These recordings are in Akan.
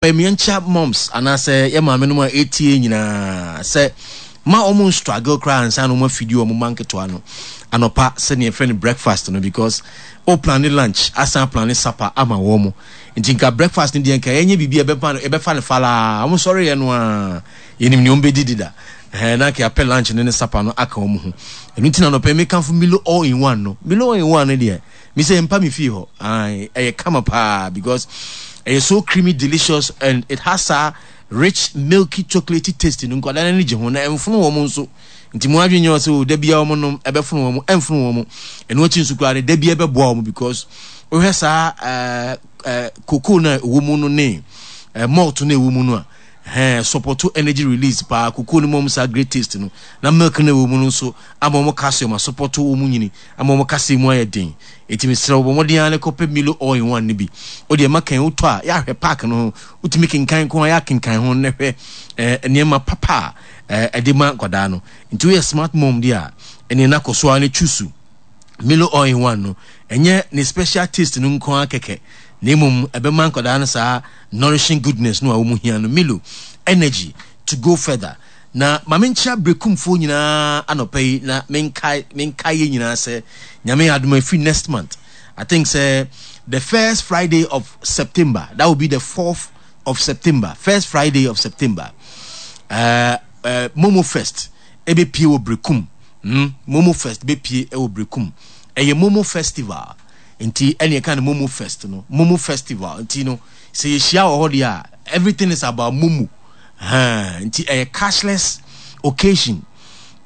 Yɛnkyia moms anaasɛ yɛ maame nom a ɛtie nyinaa sɛ ma wɔn struggle koraa ansa na wɔn afidi wɔn mma nketewa no anɔpa sɛnea yɛfrɛ no breakfast no, because o plan ne lunch asan plan ne supper ama wɔn mo. Nti nka breakfast no deɛ, nka yɛnyɛ biribi a ɛbɛfa no, yɛbɛfa no falaa. Wɔn sɔre yɛ no a, yɛnim nea wɔn bɛdi dida ɛhɛn, na nka yɛapɛ lunch ne supper no aka wɔn ho. Ɛno nti na anɔpa yi mekamfo Milo all in one no. Milo all in one no deɛ, me sɛ mpa me fie hɔ. Ae, ɛyɛ kama paa because ɛyɛ so creamy, delicious, and it has a rich, milky, chocolatey taste no. Nkwadaa no ani gye ho na ɛmfono wɔn nso. Nti mo adwene nyɛ sɛ o da bia wɔn nom ɛbɛfono wɔn, ɛmfono wɔn. Ɛno akyi nso koraa no, da bia ɛbɛboa wɔn because wohwɛ saa cocoa no a ɛwɔ mu no ne malt no a ɛwɔ mu no a, ɛhɛn support energy release paa. Cocoa no mu wɔn saa great taste no, na milk no a ɛwɔ mu no nso ama wɔn calcium asupɔto wɔn nyini, ama wɔn kasa mu ayɛ den. Enti mesrɛ wo, bɔ mmɔden ara na kɔpɛ Milo All in One no bi. Wo deɛ ma kan wotɔ a, yɛ ahwɛ pack no ho. Wotumi kenkan nko a, yɛ akenkan ho na hwɛ eh, nneɛma papa a eh, ɛde ma nkwadaa no. Nti woyɛ smart mom deɛ a, ɛneɛ na kɔ so ara na choose Milo All in One no. Ɛnyɛ ne special taste no nko ara kɛkɛ, na mmom ɛbɛma nkwadaa no saa nourishing goodness no a wɔn hia no. Milo, energy to go further. Na ma menkyea Berekumfoɔ nyinaa anɔpa yi, na menkae menkae yɛn nyinaa sɛ Nyame yɛ adom a, ɛfiri next month, I think sɛ the first Friday of September, that will be the 4th of September, first Friday of September, Momo Fest ɛbɛpie wɔ Berekum. Momo Fest bɛpie wɔ Berekum. Ɛyɛ Momo Festival, nti ɛne ɛka no Momo Fest no, Momo Festival. Nti no sɛ yɛhyia wɔ hɔ deɛ a, everything is about Momo. Ahaa, nti ɛyɛ cashless occasion.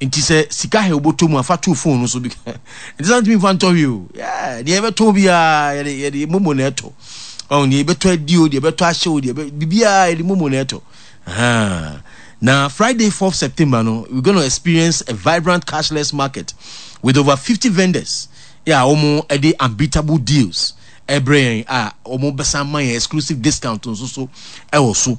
Nti sɛ sika hɛ wobɔtɔ mu a, fa to phone no so bi. Nti sɛ ntumi nfa ntɔ hwee o. Yeah, deɛ yɛbɛtɔ biara yɛde yɛde momo na ɛtɔ. Ɔn, deɛ yɛbɛtɔ adi o, deɛ yɛbɛtɔ ahyɛ o, deɛ biribiara yɛde momo na ɛtɔ. Ahaa. Na Friday 4th September no, we're going to experience a vibrant cashless market with over 50 vendors. Yeah, wɔn ɛde unbeatable deals ɛbrɛ yɛn a wɔn bɛsan ma yɛn exclusive discount nso so ɛwɔ so.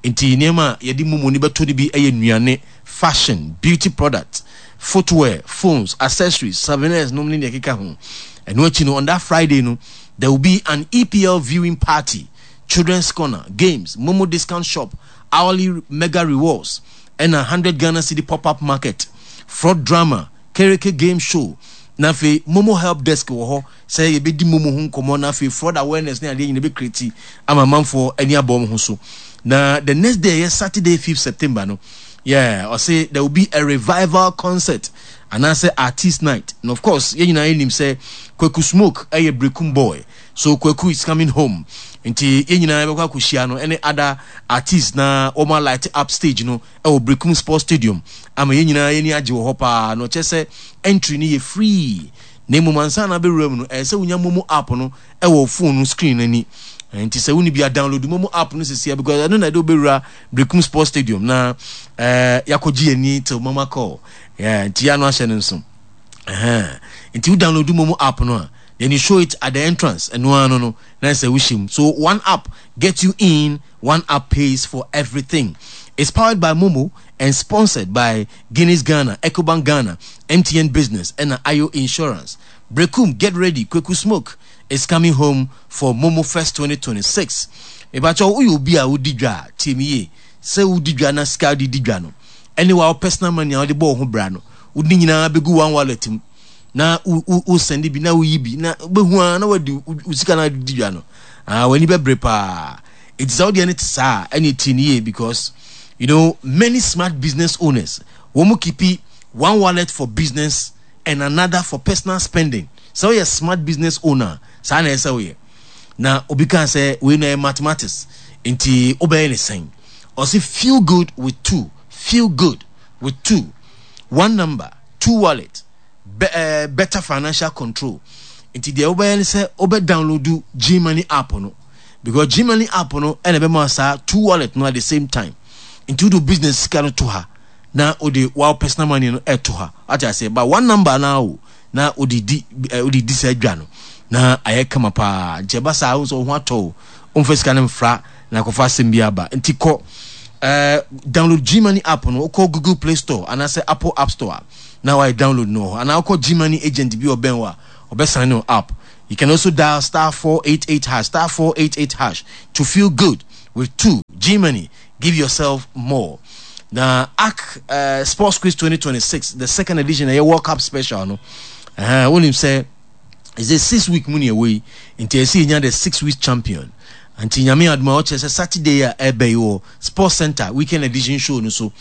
Nti nneɛma a yɛde momo no bɛtɔ no bi yɛ nnuane, fashion, beauty products, footwear, phones, accessories, souvenirs nom ne nea ɛkeka ho. Ɛno akyi no, on that Friday no, there will be an EPL viewing party, children's corner, games, momo discount shop, hourly mega rewards, ɛna 100 Ghana cedi pop-up market, fraud drama, kereke game show, na afei momo help desk wɔ hɔ sɛ yɛbɛdi momo ho nkɔmmɔ, na afei fraud awareness ne adeɛ nyina bɛkreti ama amanfoɔ ani abɔ wɔn ho so. Na the next day, ɛyɛ Saturday 5th September no, yeah, ɔse there will be a revival concert anaasɛ artist night. And of course yɛn nyinaa yɛnim sɛ Kwaku Smoke ɛyɛ Brekum boy, so Kwaku is coming home. Nti yɛn nyinaa yɛbɛkɔ akɔhyia no ɛne other artists na wɔn light up stage no ɛwɔ Brekum Sports Stadium ama yɛn nyinaa yɛn ani agye wɔ hɔ paa. Na ɔkyerɛ sɛ entry no yɛ free, na mmom ansa na abɛwura mu no, ɛyɛ sɛ wonya momo app no ɛwɔ wo phone no screen no ani. Nti sɛ wonni bi a, download momo app no sesia because ɛno na ɛde wobɛwura Brekum Sports Stadium na yɛakɔgye yɛn ani till mama call. Yeah, nti yɛ ano ahyɛ no nso. Nti wo download momo app no a, then you show it at the entrance. Ɛno ara no na sɛ wohyɛ mu. So one app get you in, one app pays for everything. It's powered by Momo and sponsored by Guinness Ghana, Ecobank Ghana, MTN Business, and Ayo Insurance. Brekum, get ready. Kweku Smoke is coming home for Momo Fest 2026. Mepakyɛw, woyɛ obi a wodi dwa a, tie me yie. Sɛ wodi dwa na sika wode di dwa no, ɛne wa personal money a wode bɔ wo ho bra no, wode ne nyinaa bɛgu one wallet mu na wo sɛnde bi na woyi bi na wobɛhu ara na wadi wo sika na wode di dwa no. Ah, w'ani bɛbere paa. Enti sɛ wo deɛ no te saa a, ɛne tie no yie because many smart business owners, wɔn mu keepi one wallet for business and another for personal spending. Sɛ woyɛ smart business owner a, saa na ɛsɛ sɛ woyɛ. Na obi kaa sɛ wei no ɛyɛ mathematics, nti wobɛyɛ ne sɛn? Ɔse feel good with two, feel good with two, one number, two wallet, better financial control. Nti deɛ wobɛyɛ ne sɛ wobɛ download Gmoney app no, because Gmoney app no ɛna ɛbɛma saa two wallet no at the same time. Nti wode business sika no to ha na wode wa personal money no ɛto ha, ate aseɛ? But one number na o na wode di wode di saa dwa no na ayɛ kama paa. Nti ɛba saa, wo nso wo ho atɔ o, womfa sika no mfra na akɔfa asɛm bi aba. Nti kɔ download Gmoney app no. Wokɔ Google Play Store anaasɛ Apple App Store a, na wayɛ download no wɔ hɔ, anaa wokɔ Gmoney agent bi ɔbɛn wo a, ɔbɛsan no app. You can also dial *488#, *488# to feel good. with 2. Germany, give yourself more. Na ARC Sports Quiz 2026, the second edition, ɛyɛ World Cup special no. Wonim sɛ ɛsɛ 6 week mu ne ɛwɔ yi, nti ɛsɛ yɛnya the 6 week champion. Nti Nyame adom a, ɔkyerɛ sɛ Saturday a ɛbɛ yi wɔ Sports Center weekend edition show no so,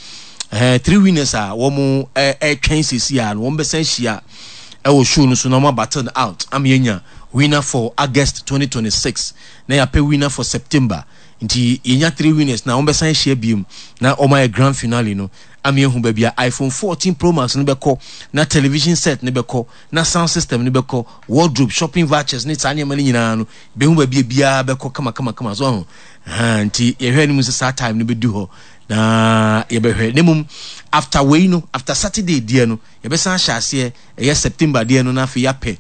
three winners a wɔn ɛretwɛn sisi a no, wɔn bɛsan ahyia ɛwɔ show no so na wɔn abattle out ama yɛnya winner for August 2026 na yɛapɛ winner for September. Nti yɛnya three winners na wɔn bɛsan ahyia biom na wɔn ayɛ grand finale no ama yɛhu baabi a iPhone 14 Pro Max no bɛkɔ, na television set no bɛkɔ, na sound system no bɛkɔ, wardrobe, shopping vouchers ne saa nneɛma no nyinaa no, bɛhu baabi a biara bɛkɔ kama kama kama so ho. Nti yɛhwɛ anim sɛ saa time no bɛdu hɔ na yɛbɛhwɛ. Na mmom after wei no, after Saturday deɛ no, yɛbɛsan ahyɛ aseɛ ɛyɛ September deɛ no, na afei yɛapɛ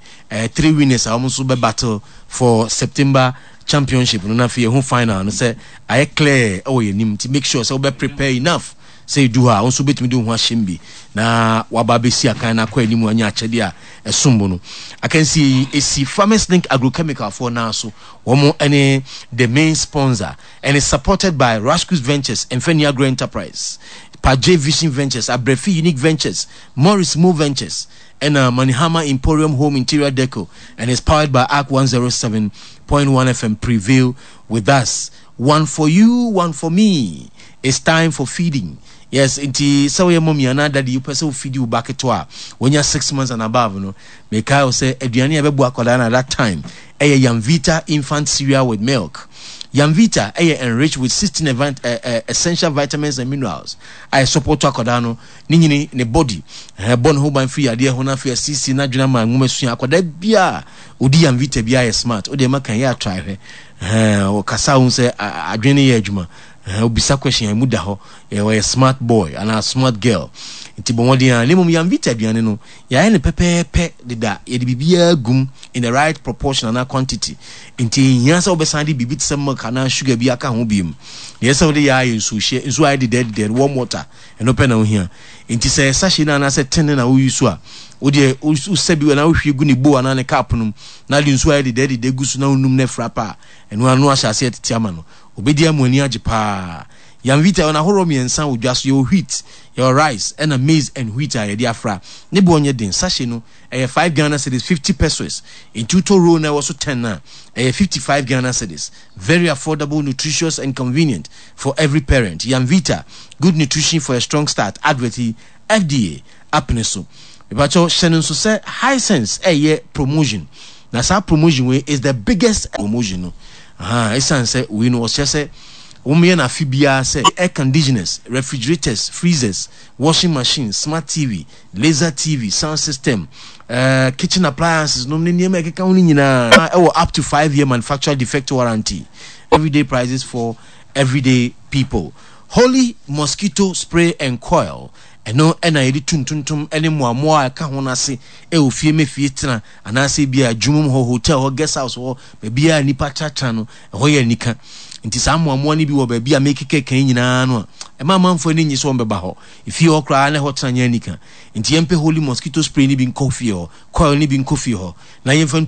three winners a wɔn nso bɛ battle for September championship no, na afei yɛho final no sɛ ayɛ clear ɛwɔ yɛn anim. Nti make sure sɛ wobɛ prepare enough sɛ edu hɔ a, wɔn nso bɛtumi de wo ho ahyɛm bi na waba abɛsi akan na akɔ anim anya akyɛdeɛ a ɛsom bo no. Akansie yi esi Farmers Link Agrochemical foɔ nan so, wɔn ne the main sponsor, and is supported by Rascus Ventures, Mfani Agro Enterprise, Paje Vision Ventures, Abrefi Unique Ventures, Morris Mo Ventures, ɛna Manihama Emporium Home Interior Deco, and is powered by ARC 107.1 FM. Prevail with us. One for you, one for me. It's time for feeding. Yes, nti sɛ woyɛ mommy anaa daddy, wopɛ sɛ wofidi wo ba ketewa a wɔnya 6 months and above no, mekae wo sɛ aduane a ɛbɛboa akwadaa no at that time ɛyɛ Yamvita infant cereal with milk. Yamvita ɛyɛ enriched with 16 essential vitamins and minerals a ɛsupport akwadaa no ne nyini, ne body, ɛbɔ ne ho ban firi yadeɛ ho, na afei asiesie n'adwene ama nwoma sua. Akwadaa biara odi Yamvita biara yɛ smart. Wode ɛma kan yɛ atra hwɛ, ɔkasa ho sɛ adwene no yɛ adwuma, obisa question a emu da hɔ, ɔyɛ smart boy anaa smart girl. Nti bɔ mmɔden a, na mmom Yamvita aduane no, yɛayɛ no pɛpɛɛpɛ deda, yɛde biribiara gum in the right proportion anaa quantity, nti nhia sɛ wobɛsan de biribi te sɛ milk anaa sugar bi aka ho biom. Deɛ ɛsɛ sɛ wode yɛ ayɛ nsuohyɛ, nsuo ayɛ dedɛɛdedɛɛ, warm water, ɛno pɛ na wohia. Nti sɛ sachet no anaasɛ tin no na woyi so a, wodeɛ wosɛ bi anaa wohwie gu ne bowl anaa ne cup no mu na de nsuo ayɛ dedɛɛdedɛɛ gu so na wonum no afira pa a, ɛno ano ahyɛ aseɛ tete ama no, obɛdi ama ani agye paa. Yamvita yɛwɔ n'ahoroɔ mmiɛnsa wɔ dwa so. Yɛwɔ wheat, yɛwɔ rice, ɛna maize and wheat a yɛde afra. Ne boɔ nyɛ den. Sachet no ɛyɛ 5 Ghana cedis, 50 pesewas. Nti wotɔ roll na ɛwɔ so 10 no a, ɛyɛ 55 Ghana cedis. Very affordable, nutritious and convenient for every parent. Yamvita, good nutrition for a strong start. Advert yi, FDA apene so. Mepakyɛw hyɛ no nso sɛ Hisense ɛyɛ promotion, na saa promotion wei is the biggest promotion no. Ɛsiane sɛ wei no ɔkyerɛ sɛ wɔyɛ no afe biara sɛ air conditioners, refrigerators, freezers, washing machines, smart TV, laser TV, sound system, kitchen appliances nom ne nneɛma ɛkeka ho no nyinaa ɛwɔ up to 5 year manufacturer defect warranty. Everyday prices for everyday people. Holy mosquito spray and coil, ɛno ɛna yɛde tu ntontom ne mmoamoa a ɛka ho no ase ɛwɔ fie mɛfie tena anaasɛ bi a adwuma mu hɔ, hotel hɔ, guest house hɔ, baabi a nipa tenatena no, ɛhɔ yɛ anika. Nti saa mmoamoa no bi wɔ baabi a mekeka kan nyinaa no a, ɛma amanfoɔ ani nye sɛ wɔn bɛba hɔ. Efie hɔ koraa na ɛhɔ tena nyɛ anika. Nti yɛmpɛ Holy mosquito spray no bi nkɔ fie hɔ, coil no bi nkɔ fie hɔ na yɛmfa